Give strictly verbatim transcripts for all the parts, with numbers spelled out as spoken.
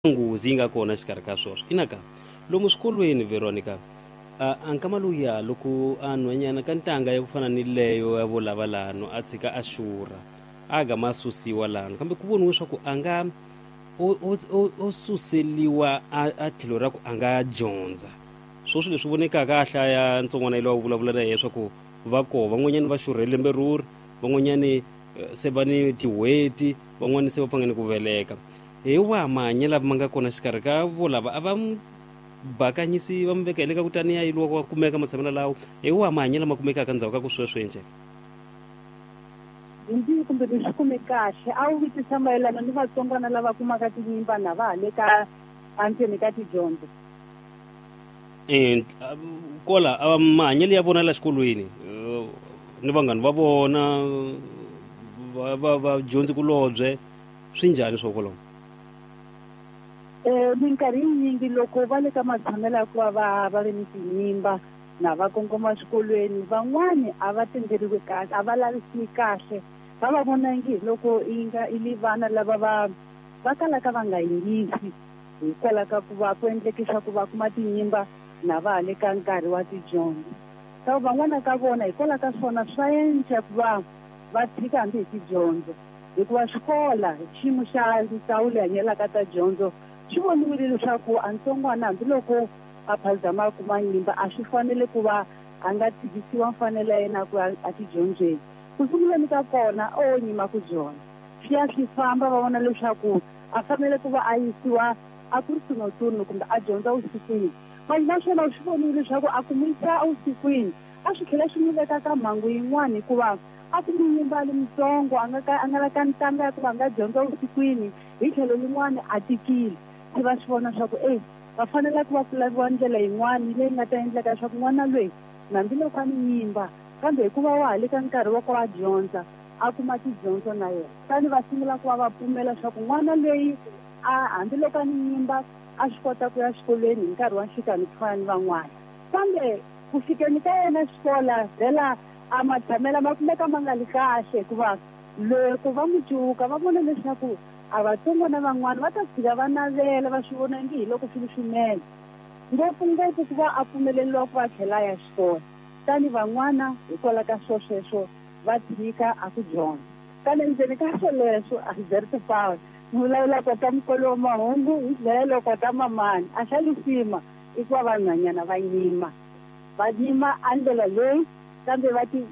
Nghozi yi nga kona exikarhi ka swona ina ka lomu swikolweni Veronica, a a nkama luya loko a nhwanyana ka ntanga ya ku fana ni leyo ya vo lava lano a tshika a xurha a gama a susiwa lano, kambe ku voniwe swa ku a nga o, o, o, o suseliwa a, a tlhelo ra ku a nga dyondza swoswi leswi vonekaka a hlaya ntsongwana yi lowa vulavula na yena swa ku va koho van'wanyani va xurhe lembe ruri, van'wanyani se va ni tin'hweti, van'wani se va pfangani ku veleka. Hi wahi mahanyelo lama nga kona xikarhi ka vo lava a va bakanyisi va mi veka hi le ka ku taniya yi wa kumeka matshamelo lawo, hi wahi mahanyelo lama kumekaka ndzhaku ka ku sweswo njhe? Ndzi kumbe leswi kume kahle a wu vutisa mayelana ni vatsongwana lava kumaka tinyimba na va ha le ka endzeni ka tidyondzo. E kola mahanyelo ya vona la xikolweni ni vanghani va vona va va vadyondzikulobye swi njhani swo kwalomo? Eh minkarhi yinyingi loko va le ka matshamelo ya ku va va va ri ni tinyimba na va kongoma swikolweni, van'wani a va tenderiwi kahle, a va lavisiwi kahle, va va vona ngi hi loko i nga i li vana lava va va kalaka va nga yingisi hikwalaho ka ku va ku endleke swa ku va kuma tinyimba na va ha le ka nkarhi wa tidyondzo. Ka van'wana ka vona hikwalaho ka swona swa endla ku va va tshika hambi hi tidyondzo, hikuva xikola xiyimo xa ndzawulo leyi hanyelaka ta dyondzo swi voniwile leswaku a ntsongwana hambiloko a phazama a kuma nyimba a swi fanele ku va a nga tshikisiwa mfanelo ya yena ku ya etidyondzweni. Ku sunguleni ka kona o nyima ku dyondza, swi ya swi famba va vona leswaku a fanele ku va a yisiwa a ku ri notturno kumbe a dyondza vusikwini. Manje naswona swi vonile leswaku a ku n'wi yisa evusikwini a swi tlhela swi n'wi veka ka mhangu yin'wana, hikuva a ku n'wi nyimba a ri mutsongo a nga ka a nga la ka ntanga ya ku va nga dyondza vusikwini, hi tlhelo rin'wana a tikile. Se va swi vona swa ku e va fanele ku va ku laviwa ndlela yin'wana leyi nga ta endleka leswaku n'wana loyi hambiloko a ni nyimba kambe hikuva wa ha le ka nkarhi wa ku a dyondza a kuma tidyondzo na yena. Kutani va sungula ku va va pfumela leswaku n'wana loyi a hambiloko a ni nyimba a swi kota ku ya xikolweni hi nkarhi wa nhlikani ku fana ni van'wana. Kambe ku fikeni ka yena xikola vhela a matshamelo ma kumeka ma nga li kahle, hikuva loko va n'wi cuka va vona leswaku a vatsongwana van'wana va ta tshika va navela va swi vona ngi hi loko swi ri swinene, ngopfungopfu ku va a pfumeleriwa ku va tlhela a ya xikolo. Tani van'wana hikwalaho ka swo sweswo va tshika a ku dyondza. Kambe ndzeni ka swoleswo Alberto Paul ni vulavula kota mukolo wa mahungu hi tlhelo kota mamani a xa lisima i ku va vanhwanyana va nyima, va nyima a ndlela leyi kambe va ti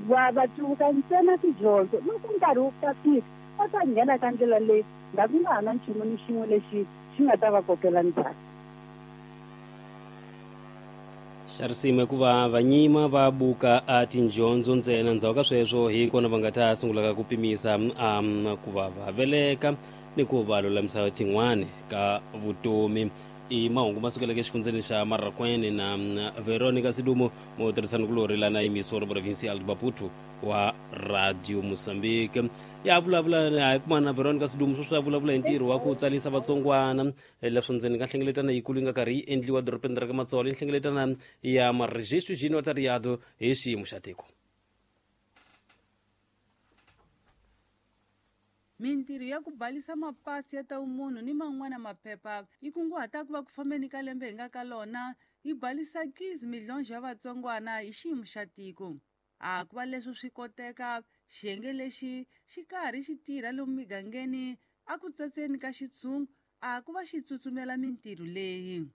va va cuvuka ntsena tidyondzo. Loko nkarhi wu ta fika va ta nghena ka ndlela leyi nga ku nga ha na nchumu ni xin'we lexi xi nga ta va kokela ndzhaku. Xa risima ku va vanyima va buka a tindyondzo ntsena, ndzhaku ka sweswo hi kona va nga ta sungulaka ku pimisa um ku va va veleka ni ku va lulamisa tin'wani ka vutomi. I mahungu ma sukeleke exifundzeni xa Marracuene na Veronica Sidumo mutirhisanikulorhi lana yimisiwa provincial de Maputo wa Radio Mozambique. Ya vulavula hi kuma na Veronica Sidumo sweswi ya vulavula hi ntirho wa ku tsalisa vatsongwana leswo ndzeni ka nhlengeletano yikulu yi nga karhi yi endliwa dorobeni ra ka Matsolo, i nhlengeletano ya Maregistro de Notariado hi xiyimo xa tiko. Mintirho ya ku balisa mapasi ya ta vumunhu ni man'wana maphepha yi kunguhata ku va ku fambeni ka lembe hi nga ka lona yi balisa quinze milhões ya vatsongwana hi xiyimo xa tiko. A ku va leswi swi koteka, xiyenge lexi xi karhi xi tirha lomu migangeni a ku tsatseni ka xitshungu a ku va xi tsutsumela mintirho leyi.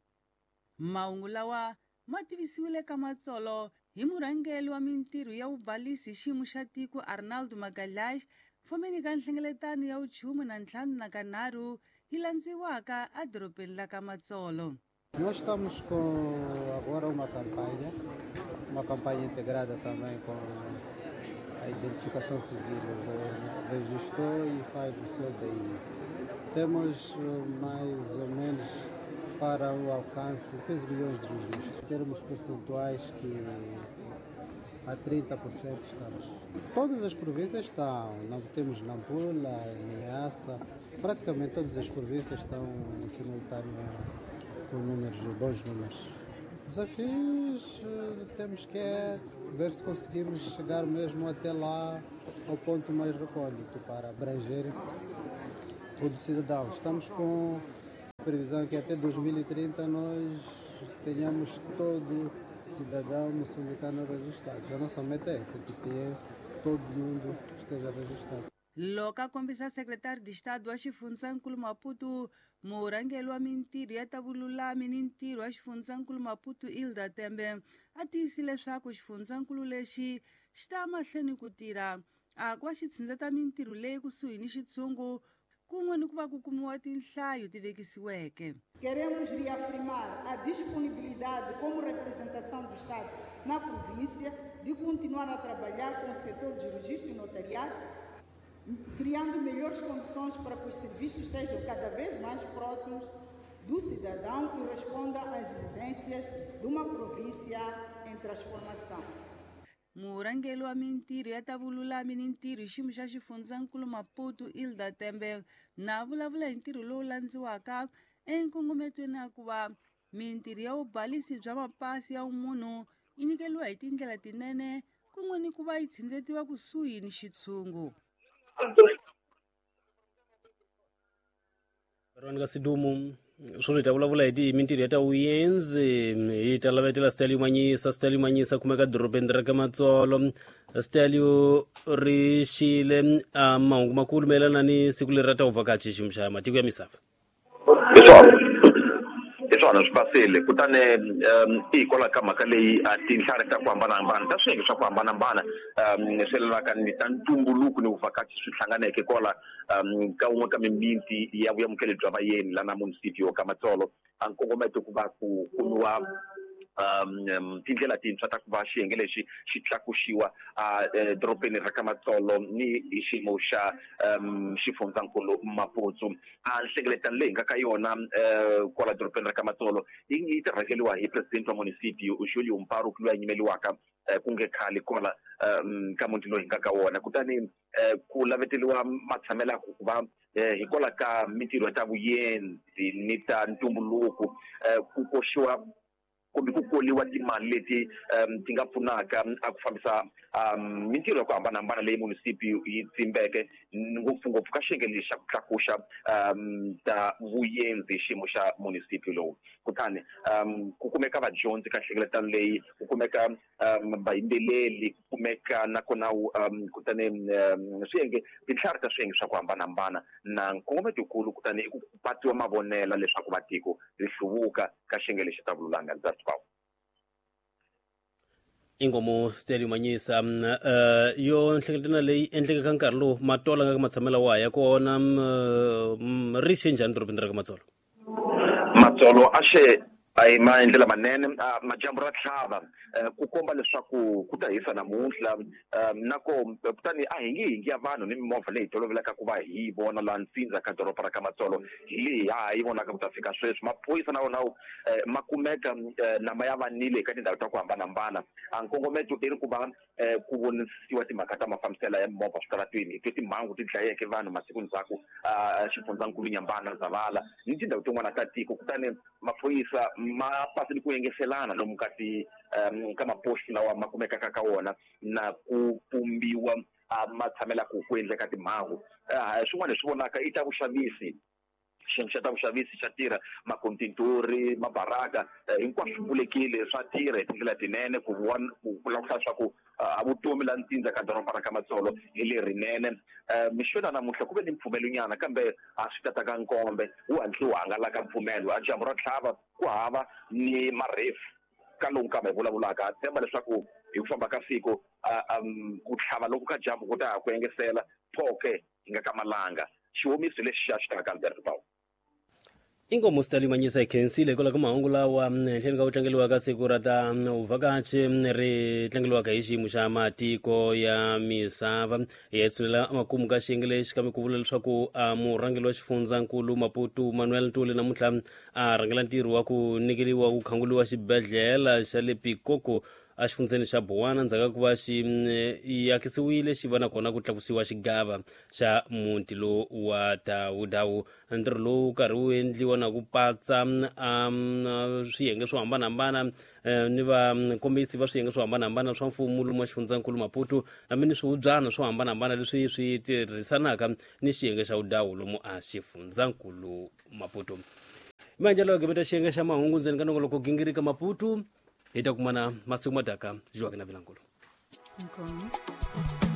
Mahungu lawa ma tivisiwile ka Matsolo hi murhangeri wa mintirho ya vubalisi hi xiyimo xa tiko Arnaldo Magalhães fomeni ka nhlengeletano ya vuchumu na ntlhanu na kanharhu yi landziwaka edorobeni la ka Matsolo. Nós estamos com agora uma campanha, uma campanha integrada também com a identificação civil, registrou e faz o seu D I. Temos mais ou menos para o alcance quinze milhões de registros. Em termos percentuais que a trinta por cento estamos. Todas as províncias estão, não temos Nampula, Niassa, praticamente todas as províncias estão em simultâneo com números, bons números. Desafios temos que é ver se conseguimos chegar mesmo até lá ao ponto mais recôndito para abranger todo cidadão. Estamos com A previsão é que até dois mil e trinta nós tenhamos todo cidadão moçambicano registrado. A nossa meta é essa, que tenha, todo mundo esteja registrado. Loko a kombisa secretário de Estado wa xifundzankulu Maputo, murhangeri wa mintirho ya ta vululami ni ntirho wa xifundzankulu Maputo Ilda Tembe a tiyisile leswaku xifundzankulu lexi xi ta mahlweni ku tirha a ku va xi tshindzeta mintirho leyi kusuhi ni xitshungu kun'we ni ku va ku kumiwa tinhlayo ti vekisiweke. Queremos reafirmar a disponibilidade como representação do Estado na província de continuar a trabalhar com o setor de registro e notariado, criando melhores condições para que os serviços estejam cada vez mais próximos do cidadão e respondam às exigências de uma província em transformação. Murhangeri wa mintirho ya ta vululami ni ntirho hi xiyimo xa xifundzankulu Maputo Ilda Tembe na vulavula hi ntirho lowu landziwaka enkongometweni ya ku va mintirho ya vubalisi bya mapasi ya vumunhu yi nyikeriwa hi tindlela tinene kun'we ni ku va yi tshindzetiwa kusuhi ni xitshungu. Veronica Sidumo swo hi ta vulavula hi ti mintirho ya ta vuyenzi hi ta lavetela Stalio Manyisa. Stalio Manyisa kumeka dorobeni ra ka Matsolo. Stalio ri xile a mahungu makulu mayelana ni siku leri ra ta vuvhakachi xiyimo xa matiko ya misava. Hi swona hi swona swi basile kutani i hikwalaho ka mhaka leyi a tinhlari ta ku hambanahambana ta swiyenge swa ku hambanahambana swi yelanaka ni ta ntumbuluko ni vuvhakachi swi hlanganeke kwala ka wun'we ka mimiti ya vuyamukeli bya vayeni lana munisipio ka Matsolo. A nkongometo ku va ku kumiwa um tindlela tintshwa ta ku va xiyenge lexi xi tlakuxiwa a dorobeni ra ka Matsolo ni hi xiyimo xa um xifundzankulu Maputo. A nhlengeletano leyi nga ka yona kwala dorobeni ra ka Matsolo yi ta rhangeriwa hi president wa munisipio Julio Mparu loyi a yimeliwaka ku nge khale kwala ka muti loyi hi nga ka wona. Kutani ku laveteliwa matshamelo ku va hikwalaho ka mintirho ya ta vuyenzi ni ta ntumbuluko ku koxiwa kumbe ku koliwa timali leti um ti nga pfunaka a ku fambisa um mintirho ya ku hambanahambana leyi munisipi yi tsimbeke ngopfungopfu ka xiyenge lexi xa ku tlakuxa um ta vuyenzi xiyimo xa munisipi lowu. Kutani um ku kumeka vadyondzi ka nhlengeletano leyi, ku kumeka um vayimbeleli, ku kumeka nakona um kutani um swiyenge tinhlari ta swiyenge swa ku hambanahambana na nkongometokulu. Kutani i ku patiwa mavonela leswaku vatiko ri hluvuka ka xiyenge lexi ta vululami. Ingomo Stalio Manyisa uh, yo nhlengeletano leyi endleke ka nkarhi lowu Matola nga ka matshamelo wa ya kona ri xe njhani dorobeni ra ka Matsolo? Matsolo a xe a hi maendlela manene, madyambu ra tlhava ku komba leswaku ku ta hisa namuntlha nako kutani a hi nge hingi ya vanhu ni mimovha leyi tolovelaka ku va hi yi vona laha ntsindza ka doroba ra ka Matsolo hi leyi ha yi vonaka ku ta fika sweswi. Maphorisa na wona ma kumeka nama ya vanile eka tindhawu ta ku hambanahambana. A nkongometo i ri ku va ku vonisiwa timhaka ta mafambiselo ya mimovha switaratweni hi twe timhangu ti dlayeke vanhu masiku ndzhaku xifundzankulu Nyambana Zavala ni tindhawu tin'wana ta tiko. Kutani maphorisa ma pasile ku yengeselana lomu ka ti um ka maposti lawa ma kumekaka ka wona na ku pumbiwa ma tshamela ku ku endleka timhangu. Swin'wana leswi vonaka i ta vuxavisi, xiyenge xa ta vuxavisi xa tirha, makontintori, mabaraka hinkwaswo swi pfulekile swa tirha hi tindlela tinene ku ku langusa leswaku a vutomi la ntsindza ka doroba ra ka Matsolo hi lerinene. Mixo na namuntlha ku ve ni mpfumelonyana kambe a swi tata ka nkombe wu hatli wu hangalaka mpfumelo. A dyambu ra tlhava ku hava ni marefu ka lowu kambe hi vulavulaka. Ha tshemba leswaku hi ku famba ka siku ku tlhava loko ka dyambu ku ta ha ku engesela phoke hi nga ka malanga. Xiwomiso lexi xa xi taka Albert Paul. Ingomo Stalio Manyisa hi khensile hikwalaho ka mahungu lawa tlhelo ka ku tlangeriwa ka siku ra ta vuvhakachi ri tlangeriwaka hi xiyimo xa matiko ya misava. Hi ya tshulela makumu ka xiyenge lexi kambe ku vula leswaku murhangeri wa xifundzankulu Maputo Manuel Ntuli namuntlha a rhangela ntirho wa ku nyikeriwa ku khanguriwa xibedhlele xa le Pikoko a xifundzeni xa Bowana ndzhaku ka ku va xi akisiwile xi va nakona ku tlakusiwa xigava xa muti lowu wa Dawudawu. Ntirho lowu karhi wu endliwa na ku patsa swiyenge swo hambanahambana ni vakombisi va swiyenge swo hambanahambana swa mfumo lomu wa xifundzankulu Maputo hambi ni swihubyana swo hambanahambana leswi swi tirhisanaka ni xiyenge xa vudawu lomu a xifundzankulu Maputo. Manjalo gimeta xiyenge xa mahungu ndzeni ka nongoloko gingirika Maputo hi ta kumana masiku madaka Joaquin Vilankulu. Inkomu.